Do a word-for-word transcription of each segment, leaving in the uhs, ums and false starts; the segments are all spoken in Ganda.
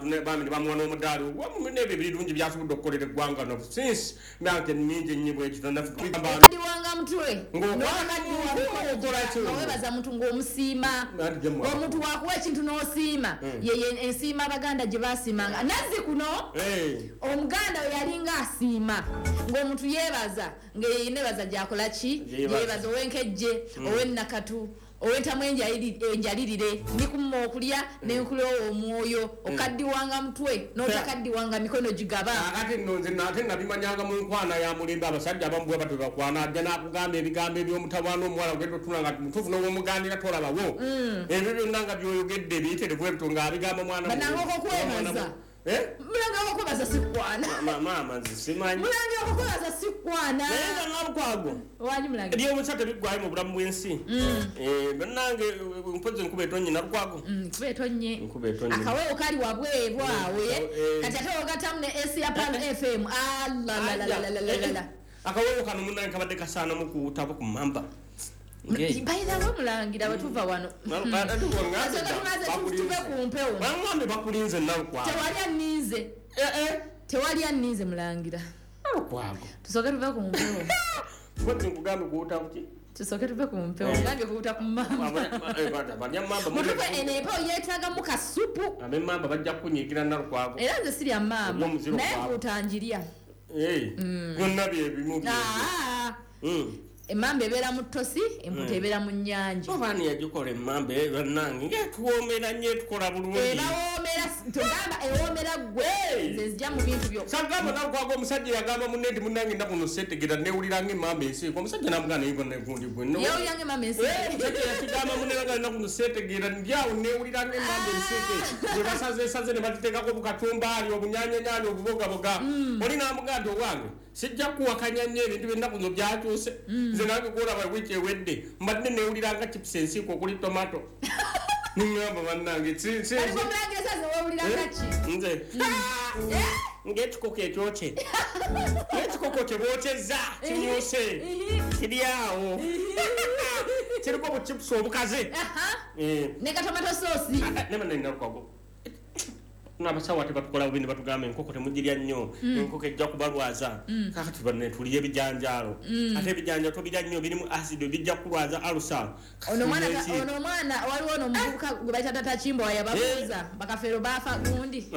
abantu bami ne bamuwa n'omudaali wamu n'ebyo ebirungi byasobodde okukolera eggwanga no since myaka mingi ennyo bwekito nafukadiwanga mutwe webaza muntu ng'omusiima omuntu wakuwa ekintu n'osiima yeye ensiima abaganda gye basiimanga nazzi kuno omuganda we yalinga asiima ng'omuntu yeebaza ng'eyenebaza gyakola ki yeebaza ow'enkejje ow'ennakatu owentamu enjalirire nikumma okulya nenkulowa omwoyo okaddiwanga mutwe n'otakaddiwanga mikono gigaba. Ate nno nze ate nabimanyanga mu nkwana ya mulembe abasajja abamu bwe batyo bakwana ajja n'akugamba ebigambo eby'omutawaana omuwala ogenda otula nga mutuufu n'owomuganira tolabawo ebyo byonna nga by'oyogedde biyiterevu ebito ng'abigamba mwana banangoko okwebaza mulangira okwebaza sikwana maama nze simanyi mulangira okwebaza sikwana naye nga nalukwago wangi mulangira eby'omusa tebiggwayo mu bulamu bw'ensi bannange mpozi nkuba etonye nalukwago nkuba etonye nkuba etonye akaweewo kali wabweru awe kati ate ogattamu ne Asia Pan F M alalalalala akaweewo kano munnange kabadde kasaanamu kuwutabo ku mmamba. By the way mulangira bwe tuva wano tuve ku mpewo bangambe bakulinze nalukwago tewali anninze tewali anninze mulangira nalukwago tusooke tuve ku mpewo mpozi nkugambe kuwuta kuki tusooke tuve ku mpewo ngambe kuwuta ku mmamba mutufe eno empewo yeetaagamu kasupu ab'emmamba bajja kukunyiigira nalukwago era nze sirya mmamba naye nkuwuta njirya byonna byebimu. Emmamba ebeera mu ttosi emputa ebeera mu nnyanja. Obaani yagikola emmamba bannange ng'etuwoomera nnyo etukola bulungi. Ebawoomera togamba ewoomera ggwe nze nzija mu bintu byo. Sagamba nalukwago omusajja yagamba munne nti munnange ennaku zino seetegera neewulira ng'emmamba ensiiko omusajja n'amugamba naye bonna gundi gwe. Yeewulira ng'emmamba ensiike. Omusajja yakigamba munne nga ennaku zino seetegeera ndi awo neewulira ng'emmamba ensiike gye basazeesaze ne bagiteekako obukatumbaali obunyaanyanyaanya obubogaboga. Oli n'amugamba nti owange sijja kuwakanya nnyo ebintu by'ennaku zino byakyuse. Nze nange gw'olaba wiiki ewedde mbadde neewulira nga chips ensiiko okuli tomato. Ningamba bannange nze ng'ekikoko ekyokye ng'ekikoko kye bookyezza kimyuse kiri awo kiriko obuchipusi obukaze ne katomato soosi. Nemanalukwago n'abasawo ate batukola bubi ne batugamba enkoko temugirya nnyo enkoko ejja kubalwaza kakati banne tulye ebijanjaalo ate ebijanjaalo tobirya nnyo birimu acid bijja kukulwaza alusa. Ono omwana ono omwana waliwo ono omuvubuka gwe bayita Tata Kimbo yababuuza bakafeero baafa gundi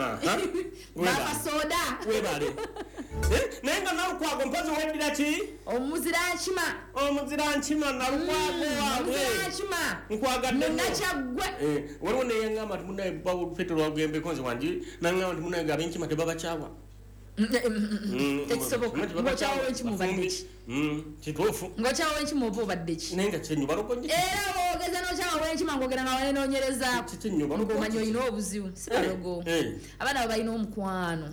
baafa soda webale naye nga nalukwago mpozi weddira ki omuzira nkima omuzira nkima nalukwago waabwe nkima nkwagadde nakyaggwe waliwo neyaŋŋamba nti munnaye Petero Walugembe nze wangi nangamba nti munnaye ab'enkima tebabakyawa tekisoboka ng'okyawa enkima obadde ki kituufu ng'okyawa enkima oba obadde ki naye nga kyenyo balogo era bw'ogeza n'okyawa w'enkima ng'ogera nga wanenoonyerezaako ng'omanya olina obuzibu si balogo abaana abo balina omukwano.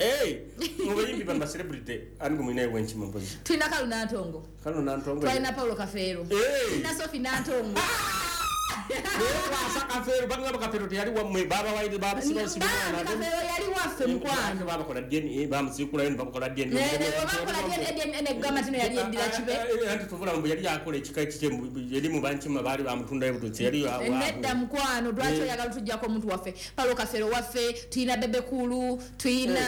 Mu bayimbi bano ba celebrity ani gwe mulinayo w'enkima mpozi? Tulina Kalu Nantongo Kalu Nantongo twalina Paulo Kafeero tulina Sophie Nantongo. Kwasa Kafeero bagamba Kafeero teyali wammwe babawaire babasibaasibana Kafeero yali waffe mukwano babakola D N A bamuziikulayo ne bamukola D N A babakola D N A negamba tino yali eddira kibe anti tuvula mbu yali akola ekika ekikye yali mu bankima baali bamutundayo bututsi yali nedda mukwano lwaki oyagala tujjako omuntu waffe Paulo Kafeero waffe tulina Bebe Cool tulina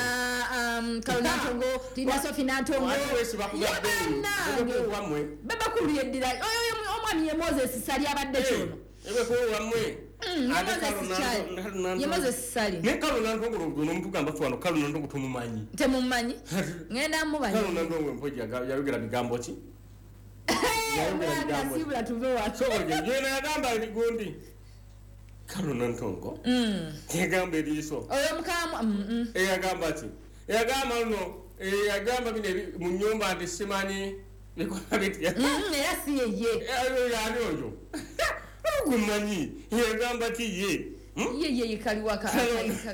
Kalu Nantongo tulina Sophie Nantongo Bebe Cool yeddira oyo omwami ye Moses Sali abadde kyono Ebekulu wammwe ye Moses Sali naye Kalu Nantongo n'omutugamba ffe wano Kalu Nantongo tumumanyi temumanyi ngenda mumanyi Kalu Nantongo mpoji yayogera bigambo ki yayogera bigambo sibula tuve wano so yena yagamba gundi Kalu Nantongo yagamba eriiso oyo mukamu eyagamba ki eyagamba luno eyagamba bino mu nnyumba nti simanyi bikola bitya era si yeye yani oyo gumanyi yagamba ki ye ye ye kaliwaka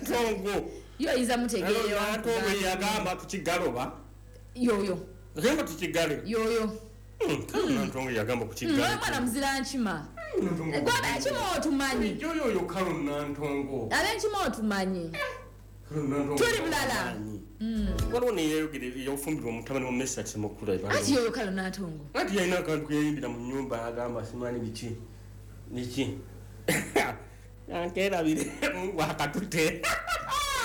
Tongo yo iza mutegeera Tongo yagamba tukigaloba yoyo gamba tukigale yoyo Kalu Nantongo yagamba kukigale mwana muzira nkima gwe abenkima otumanyi yoyo yo Kalu Nantongo abenkima otumanyi tuli bulala waliwo neyeyogera yofumbirwa omutabani wa Mesach Mukula ati yoyo Kalu Nantongo anti yalina akantu keyeyimbira mu nnyumba agamba simanyi biki biki ankerabire Mungu akatute.